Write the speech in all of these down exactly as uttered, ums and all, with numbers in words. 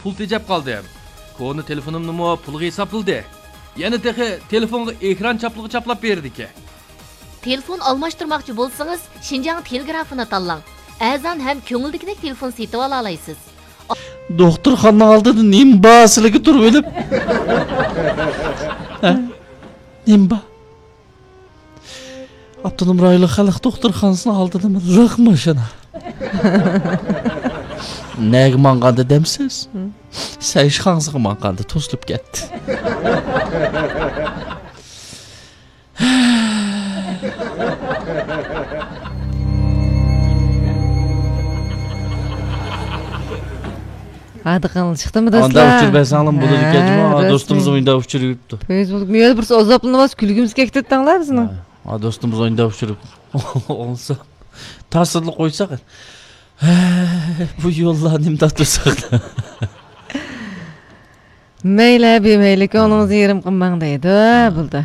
پۇل تېجەپ قالدىم. كونا تېلېفونۇمنىمۇ پۇلغا ھېسابلىدى. يەنە تېخى تېلېفونغا ئېكران چاپلىغۇ چاپلاپ بېرىدىكەن. تېلېفون ئالماشتۇرماقچى بولسىڭىز، شىنجاڭ تېلېگرافىنى تاللاڭ. ئەرزان ھەم كۆڭۈلدىكىدەك تېلېفون سېتىۋالالايسىز. دوختۇرخانىنىڭ ئالدىدا نېمە بار سىلىگە تۇرۇۋېلىپ؟ ھە؟ نېمە بار؟ ئاپتونوم رايونلۇق خەلق دوختۇرخانىسىنىڭ ئالدىدىمۇ لىق ماشىنا. نەگە ماڭغاندا دەمسىز؟ سەيشى خاڭزىغا ماڭغاندا توسۇلۇپ كەتتى. ھادىقىڭلار چىقتىمۇ، دوستلار؟ ئانداق ئۇچۇر بەرسەڭلارمۇ بولىدىكەن جۇمۇ. ھە، دوستىمىزنىڭ ئۆيىدە ئۇچۇر يۈرۈپتۇ. فېيسبۇك مۇيەدە بىرسى ئازابلىنىۋاتسا، كۈلگۈمىز كەكتىتتىڭلار بىزنىڭ. ھە، دوستىمىز ئوينىدا ئۇچۇرۇپ. ئولسا تاسىرلا قويساق. ھە، بۇ يوللار نېمە تارتىۋاتساق. مەيلى، بىمەيلى، كۆڭلىڭىزنى يېرىم قىلماڭ دەيدۇ. ھە. بولدى.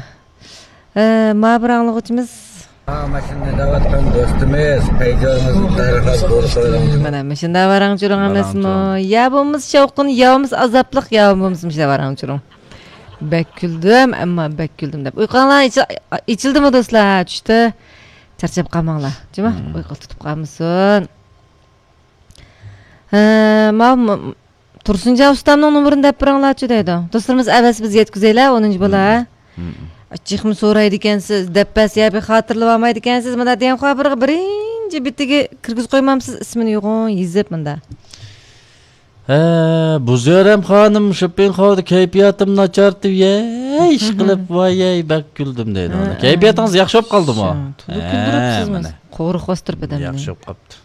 ئە، ما بىر ئاڭلىغۇچىمىز. ماشىنا ھەيدەۋاتقان دوستىمىز، پەيجانىڭىز دەرھال بولسا. مانا مۇشۇنداق ۋاراڭ-چۇرۇڭ ئەمەسمۇ؟ ۋاراڭ-چۇرۇڭ. يا بولمىسا شاۋقۇن، يا بولمىسا ئازابلىق، يا بولمىسا مۇشۇنداق ۋاراڭ-چۇرۇڭ. بەك كۈلدۈم، ئەمما بەك كۈلدۈم دەپ. ئۇيقۇڭلار ئېچىلدىمۇ دوستلار؟ چۈشتە چارچاپ قالماڭلار. جۇمۇ، ئۇيقۇ تۇتۇپ قالمىسۇن. ھە، ماۋۇ تۇرسۇنجان ئۇستامنىڭ نومۇرىنى دەپ بېرىڭلارچۇ دەيدۇ. دوستلىرىمىز ئەۋەتسە بىز يەتكۈزەيلى، ئونىنچى بالا. جىقمۇ سورايدىكەنسىز، دەپ بەرسە يا بىر خاتىرىلىۋالمايدىكەنسىز، مانا دېگەن خەۋەرگە بىرىنچى بېتىگە كىرگۈزۈپ قويمامسىز، ئىسمىنى يوغان يېزىپ مۇندا. ھە، بۇ زۆرەم خانىم شوپپىنخاۋدا كەيپىياتىم ناچارتىپ، يەي، ئىشقىلىپ، ۋاي، يەي، بەك كۈلدۈم دەيدۇ. ھە، كەيپىياتىڭىز ياخشى بولۇپ قالدىمۇ؟ تولا كۈلدۈرۈپسىز، مانا. قورۇق باستۇرۇپ ئادەمنى. ياخشى بولۇپ قاپتۇ.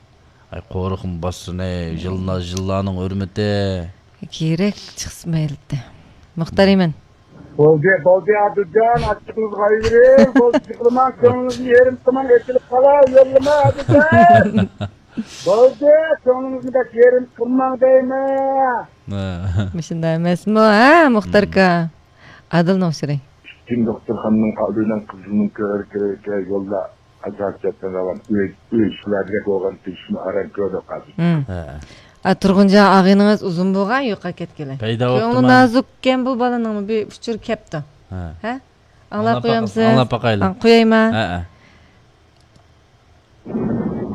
ئاي، قورۇقمۇ باستۇرۇن، ئەي، ژىللا، ژىللانىڭ ھۆرمىتى. كېرەك چىقسا مەيلى. مۇختەر ئىمىن. بولدى، بولدى، ئادىلجان، ئاچچىقىڭىزغا قويۇۋېرىڭ. بولدى، جىقلىماڭ، كۆڭلىڭىزنى يېرىم قىلماڭ، ئېچىلىپ قالاي، يوللىما، ئادىلجان. بولدى، كۆڭلىڭىزنى بەك يېرىم قىلماڭ دەيمەن. مۇشۇنداق ئەمەسمۇ، ھە، مۇختەر ئاكا؟ ئادىلنىڭ ئۇچۇرى. پۈتۈن دوختۇرخانىنىڭ ئالدىدىن قىزىلنىڭ كۆرۈكى يولدا ئاجرىشىپ كەتكەن زامان ئۆي، ئۆي ئىشلىرىدەك بولغان تېگىشىمۇ ئاران كۆردۇق ھازىر. ھە. ئا، تۇرغۇنجان ئاغىنىڭىز ئۇزۇن بولغان يوقاپ كەتكىلى. پەيدا بوپتۇ. كۆڭلى نازۇككەن بۇ بالىنىڭمۇ بىر ئۇچۇر كەپتۇ. ھە. ھە؟ ئاڭلاپ قويامسىز؟ ئاڭلاپ باقايلى. ھە، قويايما؟ ھە، ھە.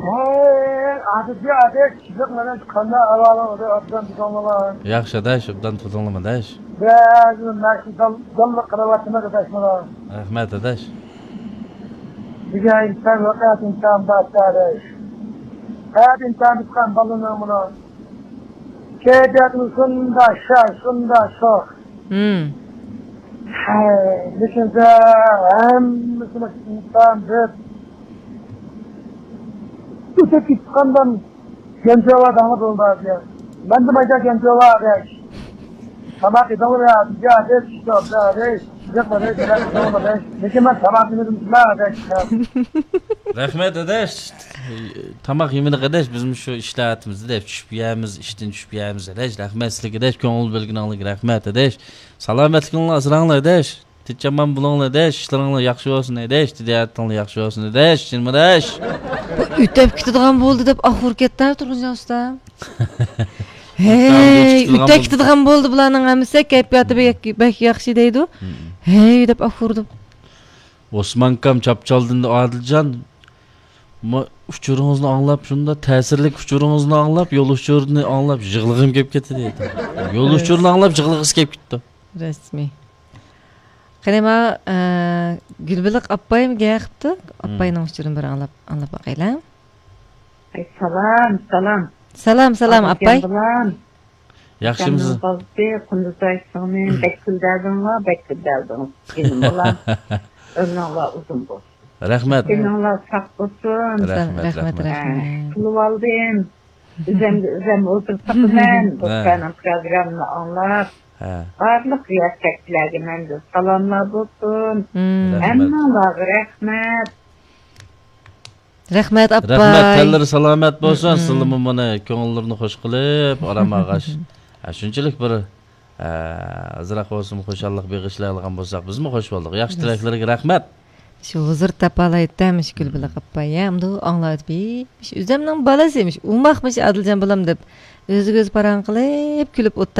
ۋاي، ئادىتى ئادەش، كىشىلىك مەنە قانداق ئەھۋالىڭ ئۇدۇ ئابدان تۇتۇڭلىما؟ ياخشى ئاداش، ئوبدان تۇتۇڭلىما ئاداش. بەزى مەشۇ دال-، داللىق قىلىۋاتىمىز ئاداش مانا. رەھمەت ئاداش. بۈگۈن ئىمتىھان ۋەقەت ئىمتىھان بار ئاداش. ھە ئىمتىھان تۇتقان بالىنىڭ مانا. كەيپىياتى شۇنداق شاش، شۇنداق شوخ. ھەي، لېكىن ھەممىسىنى ئىنسان دەپ ئۆتۈپ كېتىپ قالغان گەنجىۋا دەڭلى بولدى. مەندە مايدا گەنجىۋا دەش. تاماق يېدىڭلىمۇ يا دەش، يا دەش، يا دەش. لېكىن مەن تاماق يېمىدىم دەش. رەھمەت ئاداش. تاماق يېمىدۇق ئاداش، بىزمۇ شۇ ئىشلار ئاتىمىزدا دەپ چۈشۈپ يەيمىز، ئىشتىن چۈشۈپ يەيمىز ئاداش. رەھمەت سىلىگە ئاداش، كۆڭۈل بۆلگىنىڭلارغا رەھمەت ئاداش. سالامەتلىكىڭلار ئاسراڭلار ئاداش. تىنچ-ئامان بولۇڭلار ئاداش، ئىشلىرىڭلار ياخشى بولسۇن ئاداش، تىجارىتىڭلار ياخشى بولسۇن ئاداش، جېنىم ئاداش. بۇ ئۆتەپ كېتىدىغان بولدى دەپ ئاخۇر كەتتى تۇرغۇنجان ئۇستا. ھەي، ئۆتەپ كېتىدىغان بولدى، بۇلارنىڭ ھەممىسى كەيپىياتى بەك، بەك ياخشى دەيدۇ. ھەي دەپ ئاخۇر دەپ. ئوسمان ئاكام چاپچالدىن ئادىلجان، ما-، ئۇچۇرىڭىزنى ئاڭلاپ، شۇنداق تەسىرلىك ئۇچۇرىڭىزنى ئاڭلاپ، يول ئۇچۇرىنى ئاڭلاپ يىغلىغۇم كېلىپ كەتتى دەيدۇ. يول ئۇچۇرىنى ئاڭلاپ يىغلىغۇسى كېلىپ كېتىپتۇ. رەسمىي. قېنى، ما، ئە، گۈلبېلىق ئاپپايمۇ گەپ قىپتۇ؟ ئاپپاينىڭ ئۇچۇرىنى بىر ئاڭلاپ، ئاڭلاپ باقايلى. ئەي، سالام، سالام. سالام، سالام، ئاپپاي. ياخشىمۇسىز؟ ئاكامنىڭ بالىسى قۇندۇزاي سىڭلىم، بەك كۈلدۈردۈڭلار، بەك كۈلدۈردۈڭ. جېنىم بالام. ئۆمرۈڭلار ئۇزۇن بولسۇن. رەھمەت. تېنىڭلار ساق بولسۇن. رەھمەت، رەھمەت، رەھمەت. ھە، قىلىۋالدىم. ئۆزۈمگە ئۆزۈم ئولتۇرۇپ باقىمەن. ھە. دوستلارنىڭ پروگراممىنى ئاڭلاپ. ھە. بارلىق رىياسەتچىلەرگە مەندىن سالاملار بولسۇن. رەھمەت. ھەممىڭلارغا رەھمەت. رەھمەت، ئاپاي. رەھمەت، تەنلىرى سالامەت بولسۇن. سىلىمۇ مانا كۆڭۈللىرىنى خوش قىلىپ، ئارام ئالغاچ. ھە، شۇنچىلىك بىر، ھە، ئازراق بولسىمۇ خۇشاللىق بېغىشلايدىغان بولساق، بىزمۇ خوش بولدۇق. ياخشى تىلەكلىرىگە رەھمەت. شۇ ھۇزۇر تاپالايتتى مۇشۇ گۈلبېلىق ئاپاي، يا، ئۇنداق ئاڭلاۋېتىپ، مىش، ئۆزەمنىڭ بالىسى، مىش، ئۇماقمىش ئادىلجان بالام دەپ، ئۆزىگە ئۆزى پاراڭ قىلىپ، كۈلۈپ ئولتۇر.